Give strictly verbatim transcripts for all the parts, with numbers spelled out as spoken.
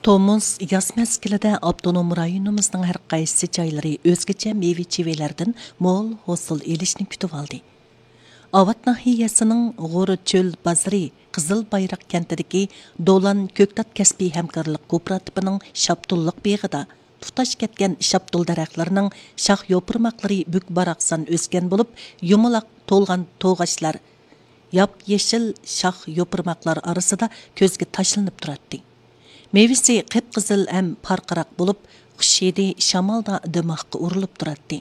تومۇز ياز مەزگىلىدە ئاپتونوم رايونىمىزنىڭ ھەر قايسى جايلىرى ئۆزگىچە مېۋە-چېۋىلەردىن مول ھوسۇل ئېلىشنى كۈتۈۋالدى. ئاۋات ناھىيەسىنىڭ غورچۆل بازىرى قىزىل بايراق كەنتىدىكى دولان كۆكتات كەسپىي ھەمكارلىق كوپىراتىپىنىڭ شاپتۇللۇق بېغىدا تۇتاش كەتكەن شاپتۇل دەرەخلىرىنىڭ شاخ يوپۇرماقلىرى بۈك-باراقسان ئۆسكەن بولۇپ، يۇمىلاق تولغان توغاچلار ياپيېشىل شاخ يوپۇرماقلار ئارىسىدا كۆزگە تاشلىنىپ تۇراتتى. مېۋىسى قىپقىزىل ھەم پارقىراق بولۇپ، خۇش ھىدى شامالدا دىماغقا ئۇرۇلۇپ تۇراتتى.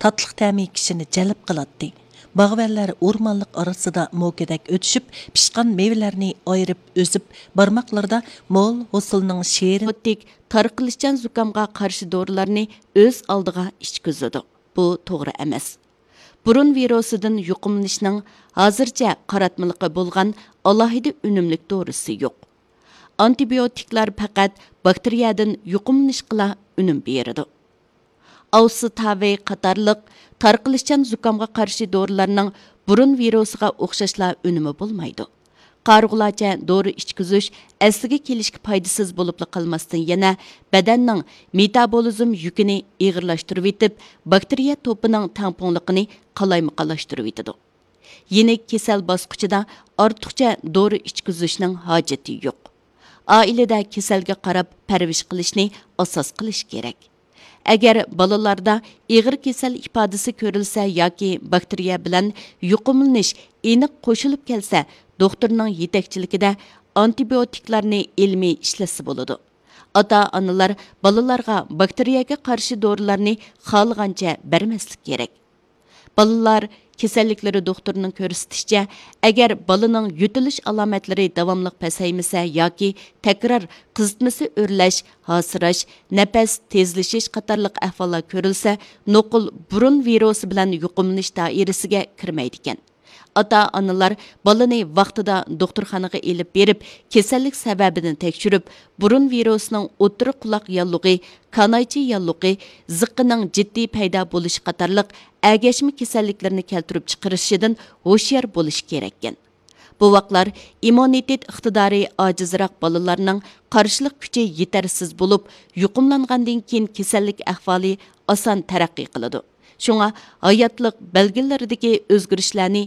تاتلىق تەمى كىشىنى جەلپ قىلاتتى. باغۋەنلەر ئورمانلىق ئارىسىدا موكىدەك ئۆتۈشۈپ، پىشقان مېۋىلەرنى ئايرىپ ئۈزۈپ، بارماقلىرىدا مول ھوسۇلنىڭ شېرىن ئانتىبىيوتىك تارقىلىشچان زۇكامغا قارشى دورىلارنى ئۆز ئالدىغا ئىچكۈزىدۇ. بۇ توغرا ئەمەس. بۇرۇن ۋىرۇسىدىن يۇقۇملىنىشنىڭ ھازىرچە قاراتمىلىقى بولغان ئالاھىدە ئۈنۈملۈك دورىسى يوق. ئانتىبىيوتىكلار پەقەت باكتېرىيەدىن يۇقۇملىنىشقىلا ئۈنۈم بېرىدۇ. ئاۋسىتاۋى قاتارلىق تارقىلىشچان زۇكامغا قارشى دورىلارنىڭ بۇرۇن ۋىرۇسىغا ئوخشاشلا ئۈنۈمى بولمايدۇ. قارىغۇلارچە دورا ئىچكۈزۈش ئەسلىگە كېلىشكە پايدىسىز بولۇپلا قالماستىن، يەنە بەدەننىڭ مېتابولىزم يۈكىنى ئېغىرلاشتۇرۇۋېتىپ، باكتېرىيە توپىنىڭ تەڭپۇڭلۇقىنى قالايمىقانلاشتۇرۇۋېتىدۇ. يېنىك كېسەل باسقۇچىدا ئارتۇقچە دورا ئىچكۈزۈشنىڭ ھاجىتى يوق. ئائىلىدە كېسەلگە قاراپ پەرۋىش قىلىشنى ئاساس قىلىش كېرەك. ئەگەر بالىلاردا ئېغىر كېسەل ئىپادىسى كۆرۈلسە ياكى باكتېرىيە بىلەن يۇقۇملىنىش ئېنىق قوشۇلۇپ كەلسە، دوختۇرنىڭ يېتەكچىلىكىدە ئانتىبىيوتىكلارنى ئىلمىي ئىشلەتسە بولىدۇ. ئاتا-ئانىلار بالىلارغا باكتېرىيەگە قارشى دورىلارنى خالىغانچە بەرمەسلىك كېرەك. بالىلار كېسەللىكلىرى دوختۇرىنىڭ كۆرسىتىشىچە، ئەگەر بالىنىڭ يۆتىلىش ئالامەتلىرى داۋاملىق پەسەيمىسە ياكى تەكرار قىزىتمىسى ئۆرلەش، ھاسىراش، نەپەس تېزلىشىش قاتارلىق ئەھۋاللار كۆرۈلسە، نوقۇل بۇرۇن ۋىرۇسى بىلەن يۇقۇملىنىش دائىرىسىگە كىرمەيدىكەن. ئاتا-ئانىلار بالىنى ۋاقتىدا دوختۇرخانىغا ئېلىپ بېرىپ، كېسەللىك سەۋەبىنى تەكشۈرۈپ، بۇرۇن ۋىرۇسىنىڭ ئوتتۇرا قۇلاق ياللۇغى، كانايچە ياللۇغى، زىققىنىڭ جىددىي پەيدا بولۇشى قاتارلىق ئەگەشمە كېسەللىكلىرىنى كەلتۈرۈپ چىقىرىشىدىن ھوشيار بولۇش كېرەككەن. بوۋاقلار ئىممۇنىتېت ئىقتىدارى ئاجىزراق بالىلارنىڭ قارشىلىق كۈچى يېتەرسىز بولۇپ، يۇقۇملانغاندىن كېيىن كېسەللىك ئەھۋالى ئاسان تەرەققىي قىلىدۇ. شۇڭا ھاياتلىق بەلگىلىرىدىكى ئۆزگىرىشلەرنى